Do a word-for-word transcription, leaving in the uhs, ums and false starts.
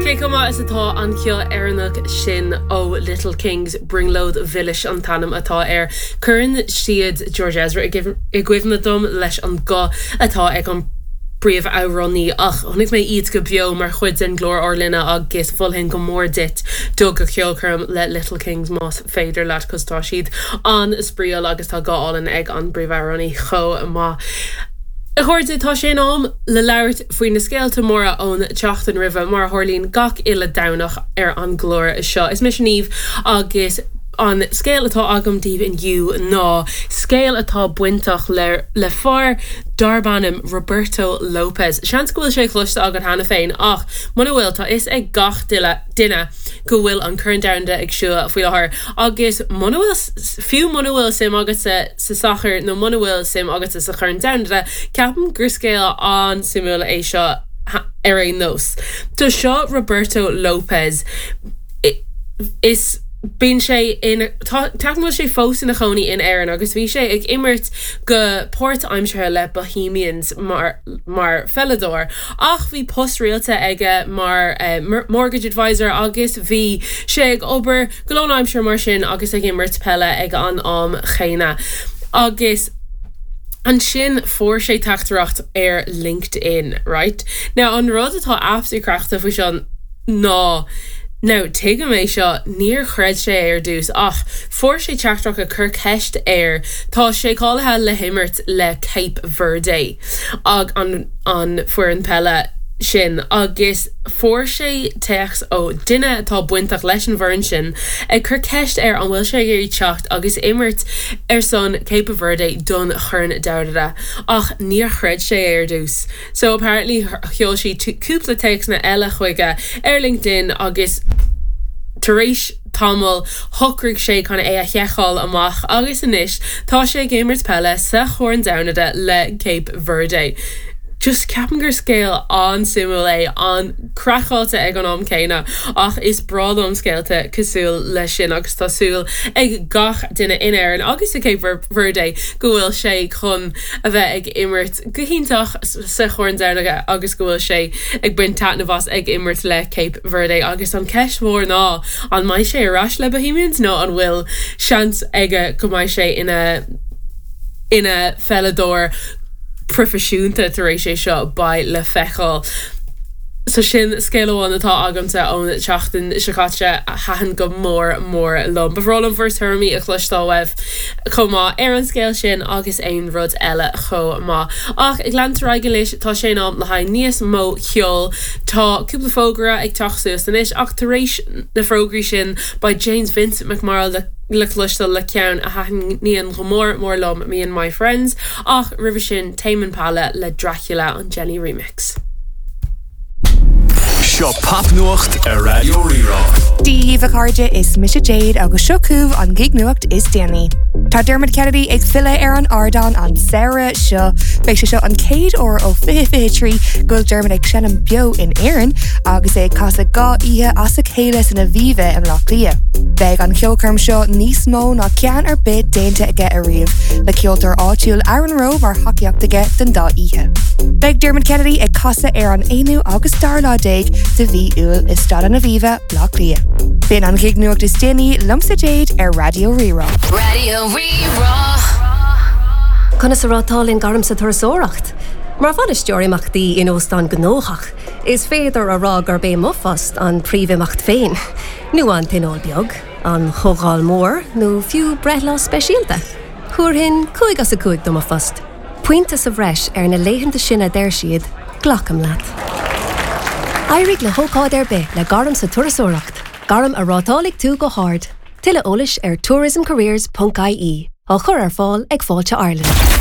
Cé chomh maith is atá an ceol Éireannach sin ó Little Kings Brionglóid Mhilis an t-ainm atá air. Cuireann siad George Ezra i gcuimhne dom leis an guth atá ag an bpríomhamhránaí ach chonaic mé iad go beo mar chuid den gclár Ár Linne agus mholfainn go mór duit dul go ceolchoirm le Little Kings más féidir leat cos tá siad an-spraíúil agus tá guth álainn ag an bpríomhamhránaí chomh maith. A chairde tá sé in am le labhairt faoi na scéalta móra ón tseachtain roimhe mar a tharlaíonn gach uile Domhnach ar an gclár seo. Is mise Niamh agus an scéal atá agam daoibh inniu ná scéal atá bainteach le le fear darb ainm Roberto Lopez. Seans go bhfuil sé cloiste agat cheana féin ach muna bhfuil tá fhios ag gach duine duine go bhfuil an Corn Domhanda ag siúl faoi láthair agus muna bhfuil fiú muna bhfuil suim agatsa sa soccer nó muna bhfuil suim agatsa sa Chorn Domhanda ceapaim gur scéal an-suimiúil é seo ar aon nós. Tá seo Roberto Lopez is bíonn sé in bhfuil sé fós ina chónaí in Éirinn agus bhí sé ag imirt go páirtaimseartha le Bohemians mar mar pheileadóir ach bhí post rialta aige mar uh, mortgage advisor agus bhí sé ag obair go lánaimseartha mar sin agus ag imirt peile ag an am chéanna. Agus Ansin fuair sé teachtaireacht ar LinkedIn, right? Now an rud atá absolutely craiceáilte faoi seo ná Now tuigim é seo níor chreid sé ar dtús ach fuair sé teachtaireacht ag cur ceist air tá sé cáilithe le himirt le Cape Verde ag an an foireann peile sin agus fuair sé téacs ó duine atá bainteach leis an bhfoireann sin ag cur ceist air an bhfuil sé ag iarraidh teacht agus imirt ar son Cape Verde don Chorn Domhanda ach níor chreid sé ar dtús. So apparently sheol sé cúpla téacsanna eile chuige ar LinkedIn agus tar éis tamall shocraigh sé chun é a sheiceáil amach agus anois tá sé ag imirt peile sa Chorn Domhanda le Cape Verde. Just ceapaim gur scéal an-suimiúil é an-chraiceáilte ag an am céanna ach is breá liom scéalta cosúil leis sin agus tá súil ag gach duine in Éirinn agus i Cape Verde go bhfuil sé chun a bheith ag imirt go hiontach sa Chorn Domhanda agus go bhfuil sé ag baint taitneamh as ag imirt le Cape Verde agus an ceist mhór ná an mbeidh sé ar ais le Bohemians nó an bhfuil seans aige go mbeidh sé ina ina pheileadóir proifisiúnta tar éis é seo beidh le feiceáil. So sin scéal amháin atá agamsa ón tseachtain seo caite a thaitin go mór mór liom. Ba bhreá liom bhur dtuairimí a chloisteáil uaibh chomh maith ar an scéal sin agus aon rud eile chomh maith. Ach ag leanúint ar aghaidh leis tá sé in am le haghaidh níos mó ceoil Tá cúpla fógra ag teacht suas anois ach tar éis na bhfógraí sin beidh James Vincent McMorrow le le cloisteáil le ceann a thaitníonn go mór mór liom Me and My Friends ach roimhe sin Tame Impala le Dracula an Jenny remix. Seo popnuacht ar Raidió Rí-Rá. Dia daoibh a chairde is mise Jade agus seo chugaibh an gig nuacht is déanaí. Tá Dermot Kennedy ag filleadh ar an ardán an samhradh seo, Beidh sé seo an chéad uair ó fiche fiche trí go bhfuil Dermot ag seinm beo in Éirinn agus é ag casadh dhá oíche as a chéile san Aviva i mBaile Átha Cliath. Beidh an cheolchoirm seo níos mó ná ceann ar bith déanta aige ariamh, le ceoltóir áitiúil Aaron Rowe mar thacaíocht aige don dá oíche. Beidh Dermot Kennedy ag casadh ar an aonú agus dara lá déag de mhí Iúil i Staid an Aviva Baile Átha Cliath. B'in an gig nuacht is déanaí liomsa Jade ar Raidió Rí-Rá. Raidió Rí-Rá. Conas a rátálann gairm sa turasóireacht. Mar bhainisteoir imeachtaí in óstán gnóthach, is féidir a rá gurb é mo phost an príomhimeacht féin. Nó an tionól beag, an chomhdháil mhór nó fiú breithlá speisialta. Thabharfainn cúig as a cúig do mo phost. Pointe sa bhreis ar na laethanta sin a deir siad, glacaim leat. Éirigh le hócáid ar bith le gairm sa turasóireacht, gairm a rátálfaidh tú go hard. Tuilleadh eolais ar tourismcareers.ie á chur ar fáil ag Fáilte Ireland.